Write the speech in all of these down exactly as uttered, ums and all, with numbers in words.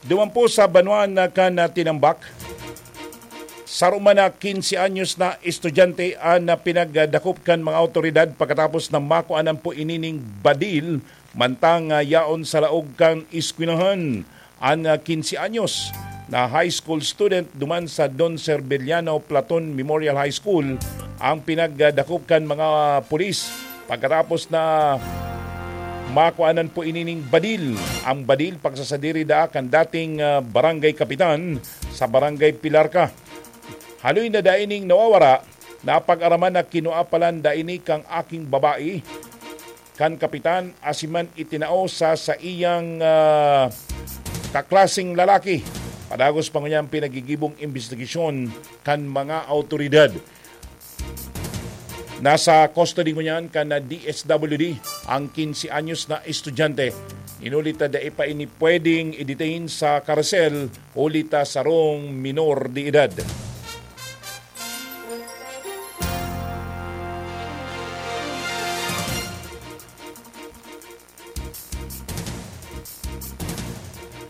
Duman po sa banwa na kan, ah, Tinambak, saro man na quince anyos na estudyante an, ah, pinagdakop kan mga awtoridad pagkatapos na makuanan po inining badil mantang, ah, yaon sa laog kan eskwelahan. An, ah, quince anyos na high school student duman sa Don Serviliano Platon Memorial High School ang pinagdakop kan mga pulis pagkatapos na makuanan po inining badil. Ang badil, pagsasadiri daa kan dating, ah, barangay kapitan sa barangay Pilarca. Haloy na dai ning nawawara, napag-araman na kinua palan dai ni kang aking babae kan kapitan, asin man itinao sa saiyang, ah, kaklaseng lalaki. Padagos pa ngunyan pinagigibong imbestigasyon kan mga awtoridad. Nasa custody ngunyan kan D S W D ang quince anyos na estudyante. Inulit na dai pa ini pwedeng i-detain sa karsel huli ta sarong minor de edad.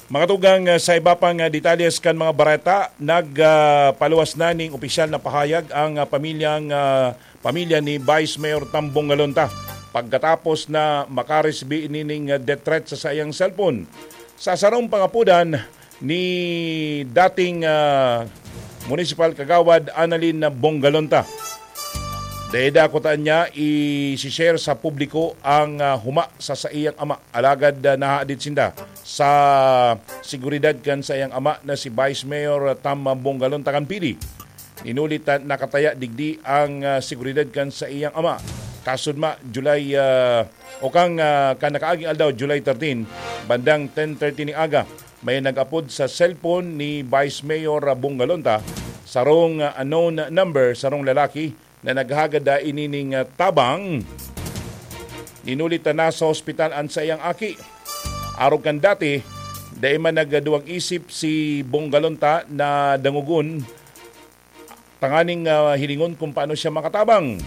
Mga tugang, ah, sa iba pang, ah, detalyes kan mga bareta, nag, ah, paluwas na ning opisyal na pahayag ang, ah, pamilyang, ah, pamilya ni Vice Mayor Tambong Galonta pagkatapos na makaresibi nining, ah, death threat sa saiyang cellphone. Sa sarong pangapudan ni dating, ah, municipal kagawad Annalyn Bongalonta, dai dakutan niya i-share sa publiko ang, ah, huma sa saiyang ama. Alagad, ah, nahadit sinda sa seguridad kan saiyang ama na si Vice Mayor Tam Bongalonta kan Pili. Inulit na nakataya digdi ang, ah, seguridad kan saiyang ama. Kasudma, July, ah, o kang, ah, kan nakaaging aldaw, July thirteen, bandang ten thirty ning aga, may nag-apod sa cellphone ni Vice Mayor, ah, Bongalonta, sarong, ah, unknown number, sarong lalaki na naghagad da ini ning, ah, tabang. Inulit na nasa ospital an saiyang aki. Arog kan dati, dai man nagduwang isip si Bongalonta na dangogon tanganing, ah, hilingon kung paano siya makatabang.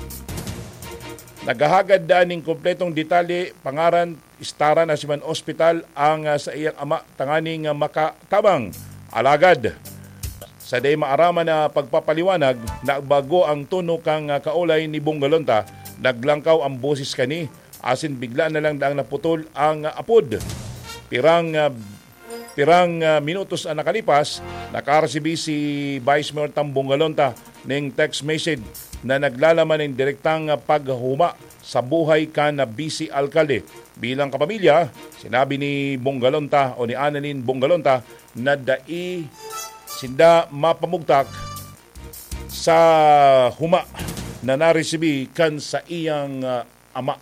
Naghahagad daan nin kompletong detalye, pangaran, istaran, asin man ospital ang, ah, saiyang ama tanganing, ah, makatabang. Alagad, sa dai maaraman na pagpapaliwanag, nagbago ang tono kan, ah, kaolay ni Bongalonta, naglangkaw ang boses kani, asin bigla na lang daang naputol ang, ah, apod. Pirang, ah, Pirang, ah, minutos an nakalipas, nakaresibi si Vice Mayor Tambong Galonta ning text message na naglalaman nin direktang, ah, paghahuma sa buhay kan, ah, bise alkalde. Bilang kapamilya, sinabi ni Bong Galonta o ni Annalyn Bong Galonta na dai sinda mapamugtak sa huma na naresibi kan saiyang, ah, ama.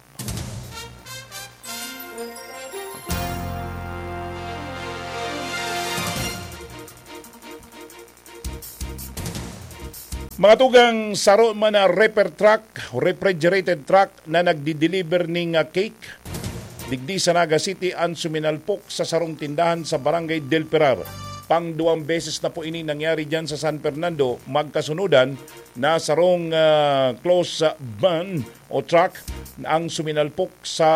Mga tugang, saro man na reefer truck, refrigerated truck na nagdi-deliver ning, ah, cake digdi sa Naga City an suminalpok sa sarong tindahan sa Barangay Del Pilar. Pangduwang beses na po ini nangyari diyan sa San Fernando, magkasunodan na sarong, ah, close, ah, van o truck ang suminalpok sa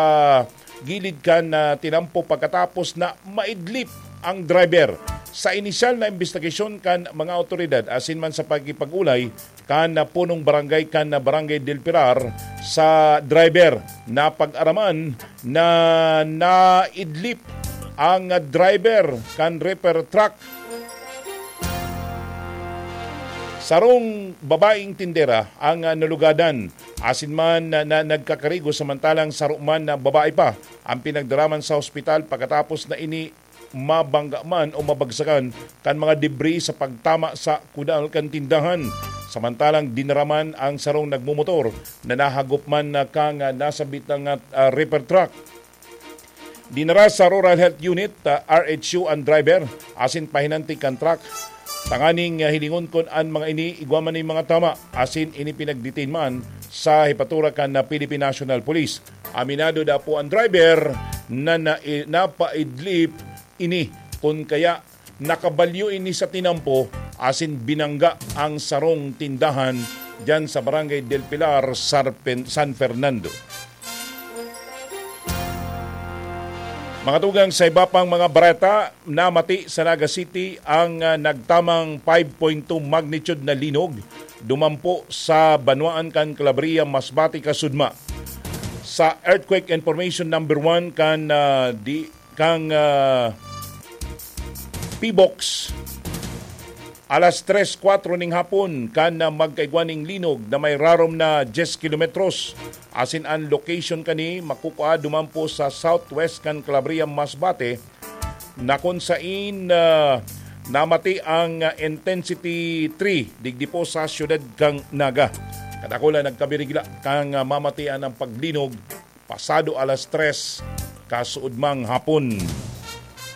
gilid kan, ah, tinampo pagkatapos na maidlip ang driver. Sa inisyal na imbestigasyon kan mga awtoridad asin man sa pakikipag-olay kan, ah, punong barangay kan, ah, Barangay Del Pilar sa driver, napag-araman na naidlip ang, ah, driver kan reefer truck. Sarong babaeng tindera ang, ah, nalugadan asin man na, na nagkakarigo, samantalang saro man na babae pa ang pinagdaraman sa ospital pagkatapos na ini mabangga man o mabagsakan kan mga debris sa pagtama sa kudal kan tindahan. Samantalang dinaraman ang sarong nagmumotor na nahagop man na kan, ah, nasabit na nga, ah, reefer truck. Dinara sa Rural Health Unit, ah, R H U, ang driver asin pahinantig kan truck. Tanganing, ah, hilingon kun an mga ini igwa man nin mga tama asin ini pinagdetain man sa hepatura kan, ah, Philippine National Police. Aminado da po ang driver na, na, napaidlip ini kun kaya nakabalyo ini sa tinampo asin binangga ang sarong tindahan diyan sa Barangay Del Pilar, Sarpen-, San Fernando. Mga tugang, sa iba pang mga bareta, namati sa Naga City ang, ah, nagtamang five point two magnitude na linog dumampo sa banwaan kan Calabria, Masbate, Kasudma. Sa earthquake information number one kan, ah, di, kang, ah, P box, alas tres kwatro ning hapon kan, ah, magkaigwa ning linog na may rarom na diyes kilometros. Asin an location kani makukua duman po sa southwest kan Calabria, Masbate, na kun sain, ah, namati ang, ah, intensity three digdi po sa siyudad kang Naga. Kadakula nagkabirigla kang, ah, mamatian ang paglinog pasado alas tres kasuodmang hapon.